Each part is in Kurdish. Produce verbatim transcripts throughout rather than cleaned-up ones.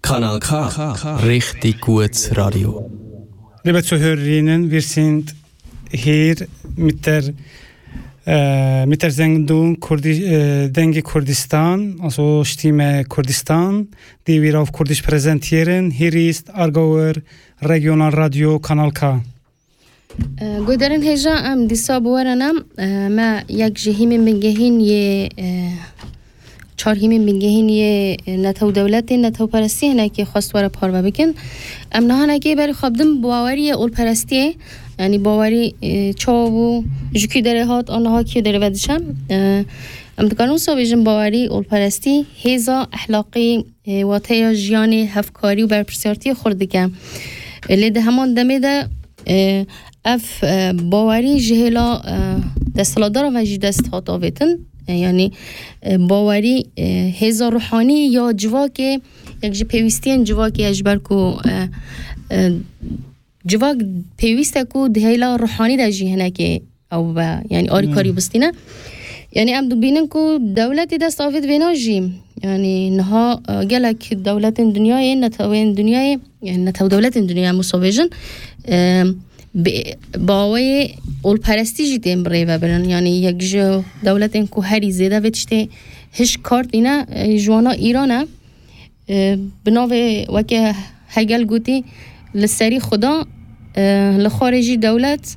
Kanal K, Richtig gut Radio. Liebe Zuhörerinnen, wir sind hier mit der, äh, mit der Sendung Kurdi-, äh, Dengê Kurdistan, also Stimme Kurdistan, die wir auf Kurdisch präsentieren. Hier ist Aargauer Regionalradio Kanal K. Guhdarên hêja, em dîsa bi we re ne. Me yek ji hîmên bingehîn yê, çar hîmên bingehîn yê netew dewletê, netewperestiyê hinekî xwest we re parve bikin. Em niha hinekî berî xwe bidin baweriyê olperestiyê, yanî bawerî çawa bû, ji kî derê hat, a niha kî derê ve diçe. Em dikarin wisa bêjin, bawerî, olperestî, hêza ehlaqî, e, wateya jiyanê, hevkarî û berpirsiyartiyê xurt dike. E, lê di heman demê de, e, ev, e, bawerî ji hêla, e, desthilatdaran ve jî dest hat avêtin. E, yanî, e, bawerî, e, hêza ruhanî ya civakê, yek ji pêwîstiyên civakê ye, ji ber ku, e, e, civak pêwîst e ku di hêla ruhanî de jî hinekê ew be, yanî alîkarî Hmm. bistîne. Yanî em dibînin ku dewletê dest avêt vêna jî. Yanî niha, e, gelek dewletên dinyayê, netewên dinyayê, yanî netew dewletên dinyayê em wisa bêjin, e, bi, bi awayê olperestî jî tên birêvebirin. Yanî yek ji dewletên ku herî zêde vê tiştê hişk kar tîne, e, ji wana Îran e. E, bi navê weke Hegel gotî, li serî Xuda, e, li xwarê jî dewlet,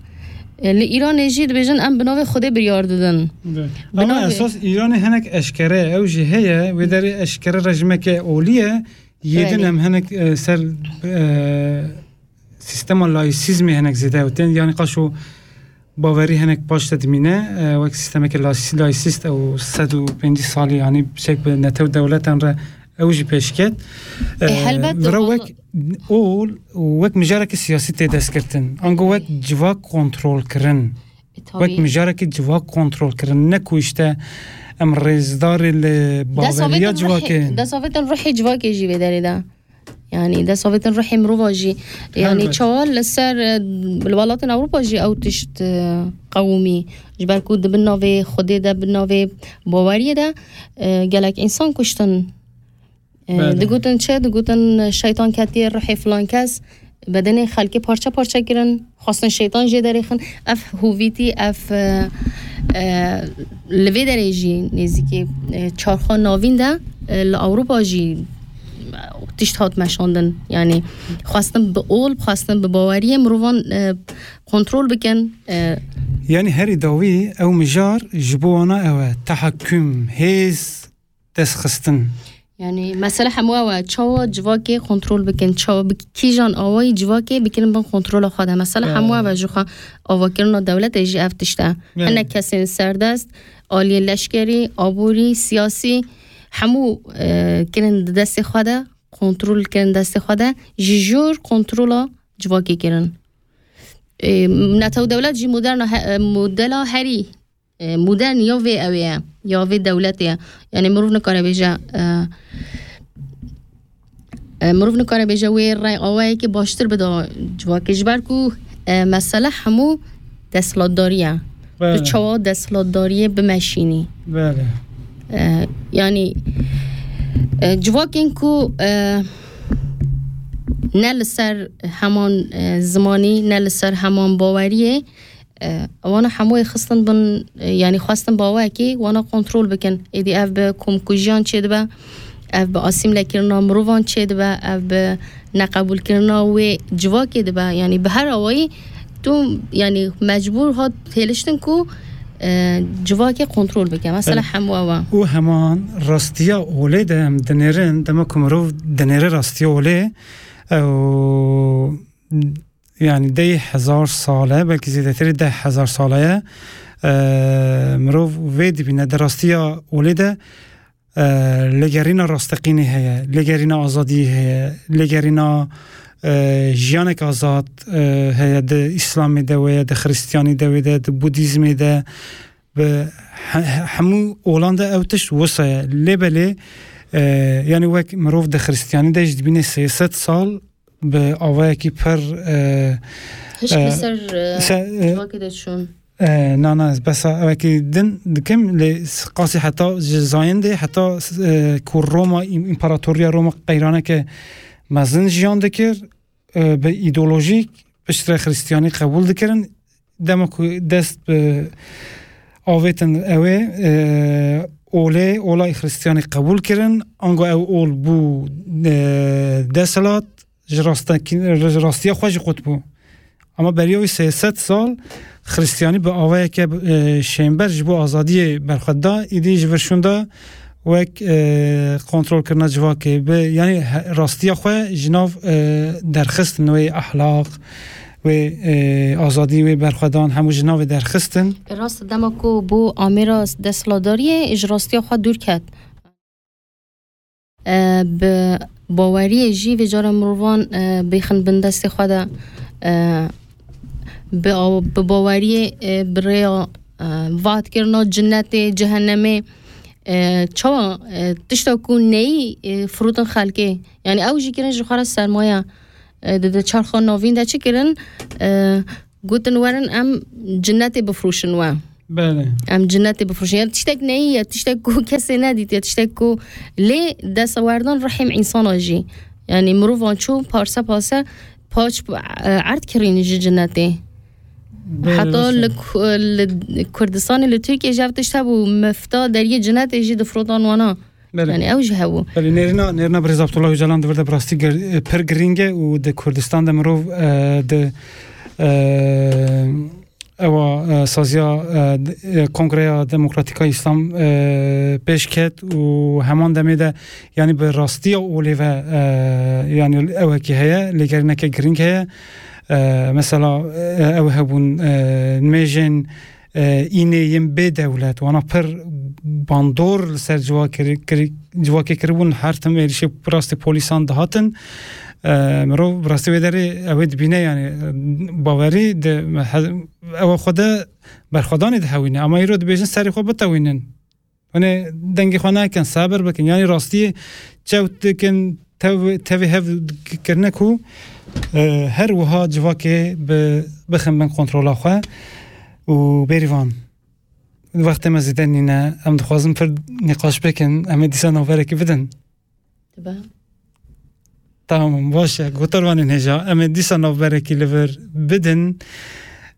e, li Îranê jî dibêjin em bi navê Xwedê biryar didin. Bi Ama navê esas Îranê hinek eşkere ye, ew jî heye, wê derê eşkere rejimeke olî ye, yê din Belê. em hinek, e, ser, e, sîstema laîsîzmê hinek zêde ew tên, yanî qaşo bawerî hinek paş de dimîne, e, wek sîstemeke lasî-, laîsîst ew sed û pêncî salî, yanî çek bi netew dewletan re ew jî pêş ket. E, E, helbet vira wal- wek ol, wek mijareke siyasî tê destgirtin. Ango wek Belê. civak kontrol kirin. E, Wek tabî. mijareke civak kontrol kirin. Ne ku işte em rêzdarê li baweriya Destavêtin civakê. ruhê, destavêtin ruhê civakê jî vê derê de. Yanî destavêtin ruhê mirova jî. Yanî Helbet. çawa li ser, e, li welatên Ewropa jî ew tişt, e, qewimî. Ji ber ku di bin navê Xwedê de, bin navê baweriyê de, e, gelek însan kuştin. E, Belê. digotin çi? Digotin şeytan ketiye ruhê filan kes. Bedenê xelkê parçe parçe kirin. Xwestin şeytan jê derêxin. Ev hovîtî, ev, e, e, li vê derê jî nêzîkî, e, çarxa navîn de, e, li Ewropa jî, e, tişt hat meşandin. Yanî xwestin bi ol, xwestin bi baweriyê mirovan, e, kontrol bikin. E, Yanî herî dawî ew mijar ji bo wana ew e. Tehakküm, hêz, destxistin. Yanî mesele hemû ew e, çawa civakê kontrol bikin, çawa bi kîjan awayî civakê bikirin bin kontrola xwe de. Mesele Belê. hemû ev e, ji xwe avakirina dewletê jî ev tişt e. Belê. Hinek kesên serdest, aliyê leşkerî, aborî, siyasî, hemû, e, kirin di destê xwe de, kontrol kirin destê xwe de, ji jor kontrola civakê kirin. E, netew dewlet jî moderna he-, e, modela herî e, modern ya vê ew ê ye, ya vê dewletê ye. Yanî mirov nikare bêje, e, e, mirov nikare bêje wê rey awayekî baştir bida civakê. Ji ber ku, e, mesele hemû desthilatdarî ye. Belê. Tu çawa desthilatdariyê bimeşînî? Belê. E, yanî, e, civakên ku, e, ne li ser heman, e, zimanî, ne li ser heman baweriyê, E, wana hemûyê xistin bin, e, yanî xwestin bi awayekî wana kontrol bikin. Êdî ev bi komkujiyan çêdibe, ev bi asîmlekirina mirovan çêdibe, ev bi neqebûlkirina wê civakê dibe. Yanî bi her awayî tu, yanî mecbûr hat hêliştin ku, e, civakê kontrol bike. Mesela Evet. hemû ew e. Û heman rastiya olê de em dinêrin, dema ku mirov dinêre rastiya olê, ew Yanî dey hezar sal e, belkî zêdetirî deh hezar sal e, e, mirov vê dibîne. Di rastiya olê de, e, lêgerîna rasteqînê heye, lêgerîna azadiyê heye, lêgerîna, e, jiyanek azad, e, heye. Di Îslamê de wê ye, di Xiristiyanî de wê de, di Budîzmê de, bi he-, he-, hemû olan de ew tişt wisa ye. Lê belê, e, yanî wek mirov di Xiristiyanî de jî dibîne sê sed sal bi awayekî pir, e, Hişk li e, ser, e, se-, e, civakê de çûn. E, na, na, ez besa ewekî din dikim, lê qasî heta ji zayendê, heta, e, ku Roma, îm-, împaratoriya Roma qeyraneke mezin jiyan dikir, e, bi îdeolojîk piştre Xristiyanî qebûl dikirin. Dema ku dest bi avêtin ew ê, e, olê, olayî Xristiyanî qebûl kirin, ango ew ol bû, e, desthilat, ji rastekî-, ji rastiya xwe jî qut bû. Ama beriya wî sê sed sal Xristiyanî bi awayeke, e, şênber ji bo azadiyê berxwe da, îdî ji vir şûnda wek, e, kontrolkirina civakê bi, yanî he-, rastiya xwe ji nav, e, derxistin wê ehlaq, wê, e, azadî, wê berxwedan hemû ji navê derxistin. Rast, dema ku bû amêra desthilatdariyê, ji rastiya xwe dûr ket. E, bi baweriyê jî vê cara mirovan, e, bêxin bin destê xwe de, e, bi aw-, bi baweriyê, e, bi rêya, e, vatkirina cinnetê, cehennemê, e, çawa, e, tişta ku neyî, e, firotin xelkê. Yani ew jî kirin ji xwe re sermaye, e, di, di çarxa navîn de çi kirin? E, gotin werin em cinnetê bifroşin we. Belê. Em cinnetê bifroşin. Ya tiştek neyî, ya tiştek ku kesê nedît, ya tiştek ku lê destwerdan rihêm însana jî. Yani mirovan çû parse parse paç, e, erd kirîn ji cinnetê. Belê, Heta rast e. Li Ku-, li Kurdistanê, li Tirkiyê jî ev tişt hebû, mifta deriyê cinnetê jî difrotan wana. Belê. Yani ew jî hebû. Belê, nêrîna, nêrîna Birêz Abdullah Ocalan di vir de bi rastî gir-, pir girîng e û di Kurdistan de mirov, e, di, e, ewa, e, saziya, e, d-, e, Kongreya Demokratîka Îslam, e, pêş ket û heman demê de, yani bi rastiya olê ve, e, yani ewekî heye, lêgerîneke girîng heye. E, mesela, e, ew hebûn, e, nimêjên, e, înê yên bê dewlet, wana pir bandor li ser civakê kiri-, kiri-, civakê kiribûn, her tim êrişê rastê polîsan dihatin. E, mirov bi rastî wê derê ew ê dibîne, yani, e, bawerî di he-, ew xwe de berxwedanê dihewîne, ama îro dibêjin serê xwe bitewînin. Hûn ê dengê xwe nekin, sebir bikin. Yanî rastiyê çewt dikin, tev-, tevê hev kirine ku, e, her wiha civakê bi, bixin bin kontrola xwe û bêrîvan. Wextê me zêde nîne, em dixwazin pir nîqaş bikin, em ê dîsa navberekî bidin. Dibe. Tamam, baş e. Gotarvanên hêja, em ê dîsa navberekî li vir bidin.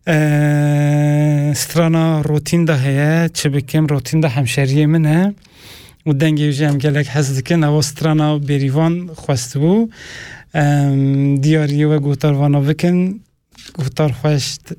Eee, strana Rotînda heye, çi bikim, Rotînda hemşeriyê min e. Û dengê wî jî em gelek hez dikin. Ewa strana Bêrîvan xwestibû. Em diyariyê we gotarvana bikin. Gotar xweş, t-,